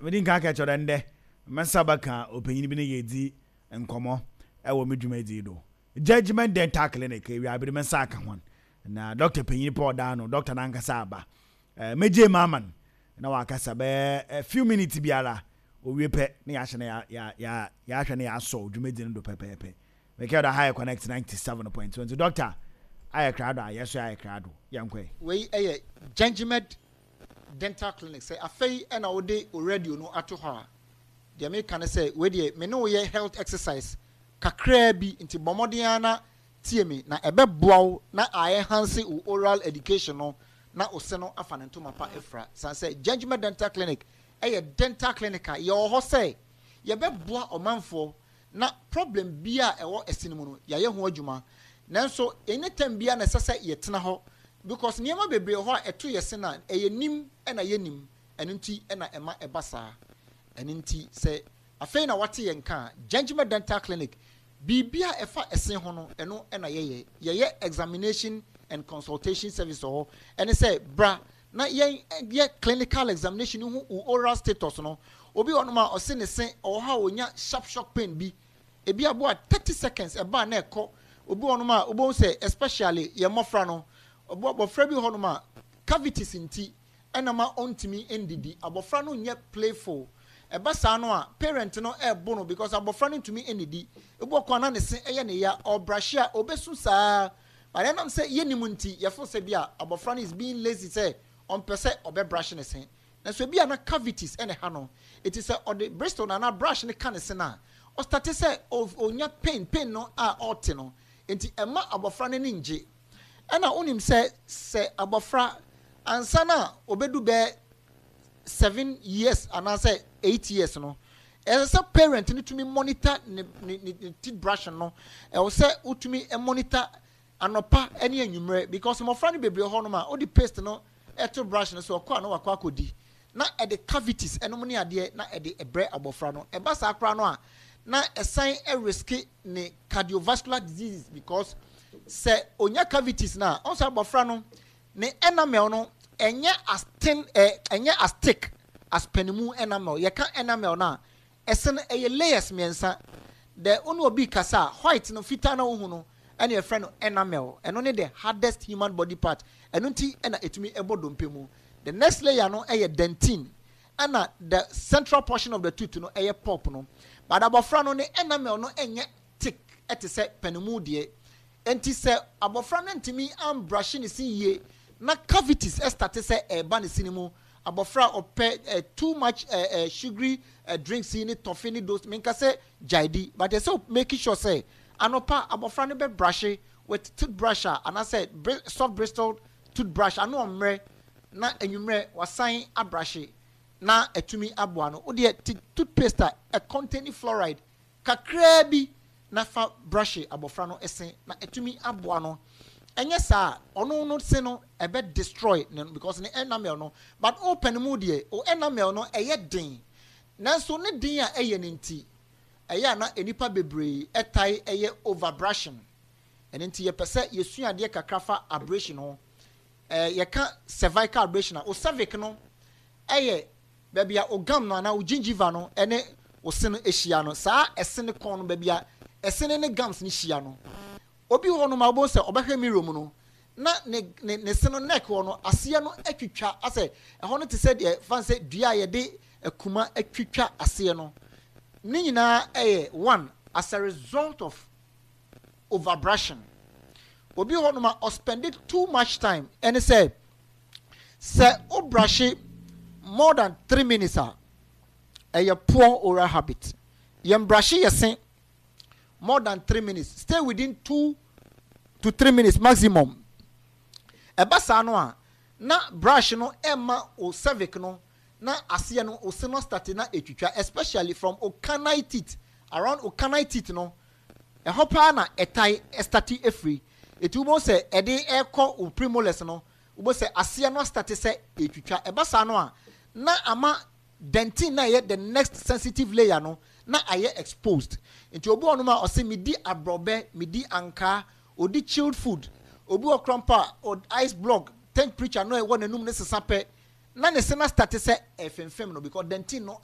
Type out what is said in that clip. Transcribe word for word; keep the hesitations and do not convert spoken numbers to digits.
Mede nka ka kyerɛ ndɛ mɛnsa bɛka ɔpanyin bi ne yɛdi nkɔmmɔ ɛwɔ me dwumadie do, Judgment Dental Clinic. Ewiabere mɛnsa aka ho na doctor panyin pa ɔda no, doctor nankasa aba. ɛɛ mɛgye mu ama no na wakasa bɛɛ a few minutes biara. Owie pɛ ne yɛahyɛ no, yɛahwɛ no, yɛasɔ dwumadie no do pɛpɛɛpɛ. Mɛkɛ da high Connect ninety-seven point two. Nti doctor ayɛ krado a yɛso ayɛ krado, yɛnkɔɛ. Wei yɛ Gengmed Dental Clinic. Sɛ afei ɛna wode o radio no ato hɔ a, deɛ meka ne sɛ wei deɛ, me ne wo yɛ health exercise kakraa bi, nti bɔ mmɔden ara na tie me na ɛbɛboa wo na enhance wo oral education no na wo se no afa ne ntoma pa afira. San sɛ Gengmed Dental Clinic ɛyɛ dental clinic a yɛwɔ hɔ sɛ yɛbɛboa ɔmanfoɔ na problem bi a ɛwɔ ɛse no mu no, yɛayɛ ho adwuma. Nanso anytime bia na ɛsɛ sɛ yɛtena hɔ because nneɛma bebree wɔ hɔ a ɛto yɛ se na ɛyɛ nim ɛna yɛ nim. Ɛno nti ɛna ɛma ɛba saa. Ɛno nti sɛ afei na wate yɛn ka, Gengmed Dental Clinic, biribi a ɛfa ɛse ho no, ɛno ɛna yɛyɛ. Yɛyɛ examination and consultation service wɔ hɔ. Ɛne sɛ bra na yɛn yɛ clinical examination ho wo oral status no. Obi wɔ nom a ɔse ne se ɔwɔ hɔ a onya sharp shock pain bi, ebi aboa thirty seconds ɛbaa na ɛkɔ. Obi wɔ nom a wobɛhu sɛ, especially yɛn mmɔfra no, ɔbo abɔfra bi wɔ hɔ nom a cavities nti ɛna ma ɔntumi ndidi. Abɔfra no nyɛ playful. Ɛba saa no a, parent no ɛɛbo no because abɔfra no ntumi ndidi. Ebi wɔ kwan na ne se ɛyɛ ne ya, ɔbrahye a obesu saa, but ɛnam sɛ yɛnim nti, yɛfo sɛ bi a abɔfra no is being lazy, sɛ ɔmpɛ sɛ ɔbɛbrahye ne se. Nanso ebi a na cavities ɛna ha no, eti sɛ ɔde bristle na na brush ne ka ne se na ɔstart sɛ onya pain pain no a ɔte no, nti ɛma abɔfra no ani ngye. Ɛna wonim sɛ sɛ abɔfra ansa na obedu bɛɛ seven years anaasɛ eight years no, ɛsɛ sɛ parent no tumi monitor ne ne ne ne teeth brush no. Ɛwɔ sɛ wotumi monitor anɔpa ne anwummerɛ because mmɔfra no bebree hɔ nom a wode paste no ɛto brush no so, ɔkɔ a na wakɔ akɔdi na ɛde cavities ɛnom ne adeɛ na ɛde ɛbrɛ abɔfra no. Ɛba saa koraa no a, na ɛsan ɛrisk ne cardiovascular diseases because sɛ onya cavities na ɔnso abɔfra no ne enamel no ɛnyɛ as thin, ɛ ɛnyɛ as thick as panimu enamel. Yɛka enamel no a, ɛsɛ no ɛyɛ layers mmiɛnsa. The ɔne obi kasa a, white no, fitaa na ohu no, ɛna yɛfrɛ no enamel. Ɛno ne the hardest human body part. Ɛno nti ɛna ɛtumi ɛbɔ dompe mu. The next layer no ɛyɛ dentine, ɛna the central portion of the tooth no ɛyɛ pulp no. But abɔfra no ne enamel no ɛnyɛ thick ɛte sɛ panimu deɛ. Nti sɛ abɔfra no ntumi ambrushe ne se yie na cavities ɛstart sɛ ɛɛba ne se ne mu, abɔfra a ɔpɛ ɛ too much ɛ ɛ sugary ɛ drinks yi ne toffee ne those, minka sɛ gyaedi, but ɛsɛ make sure sɛ anɔpa abɔfra no bɛ brushe with toothbrush a anaasɛ soft bristle toothbrush ano ɔmmerɛ, na enwummerɛ wasan abrushe na ɛtumi aboa no. Wodeɛ toothpaste a ɛcontain fluoride kakraa bi na fa brush abɔfra no ɛse na ɛtumi aboa no. Ɛnyɛ saa, ɔno no se no ɛbɛ destroy ne because ne enamel no. But open mu deɛ, o enamel no ɛyɛ den, nanso ne den a ɛyɛ ne nti ɛyɛ a na nipa bebree ɛtae ɛyɛ over brushing. Ɛno nti yɛpɛ sɛ yɛsua adeɛ kakra fa abrasion ho. ɛɛ yɛka cervical abrasion a, o cervix no ɛyɛ baabi a o gum no anaa o gingiva no ɛne o se no ahyia no. Saa ɛse ne kɔn no, baabi a ɛse ne ne gums no hyia no. Obi wɔ hɔ nom a wobɛhu sɛ ɔbɛhwɛ mirror mu no na ne ne ne se no neck hɔ no, aseɛ no atwitwa asɛ ɛhɔ no te sɛ deɛ fan sɛ dua a yɛde akuma atwitwa aseɛ no. Ne nyinaa ɛyɛ one as a result of overbrushing. Obi hɔ nom a ɔspend too much time. Ɛne sɛ sɛ o brush more than three minutes a, ɛyɛ poor oral habit. Yɛn brush yɛ se more than three minutes. Stay within two to three minutes maximum. Ɛba saa no a, na brush no ɛma o cervix no na aseɛ no, o se no start na etwitwa, especially from o canine teeth, around o canine teeth no. Ɛhɔ paa na ɛtae ɛstart efiri. Eti wobɔ sɛ ɛde ɛkɔ o premolars no, wobɔ sɛ aseɛ no start sɛ etwitwa. Ɛba saa no a, na ama dentin na ɛyɛ the next sensitive layer no na ayɛ exposed. Nti obi wɔ nom a ɔsɛ medi aborɔbɛ, medi ankaa, odi chilled food, obi wɔ kora mpo a ice block temperature no ɛwɔ n'anum ne sesa pɛ na ne se na start sɛ ɛfɛnfɛm no because dentin no ayɛ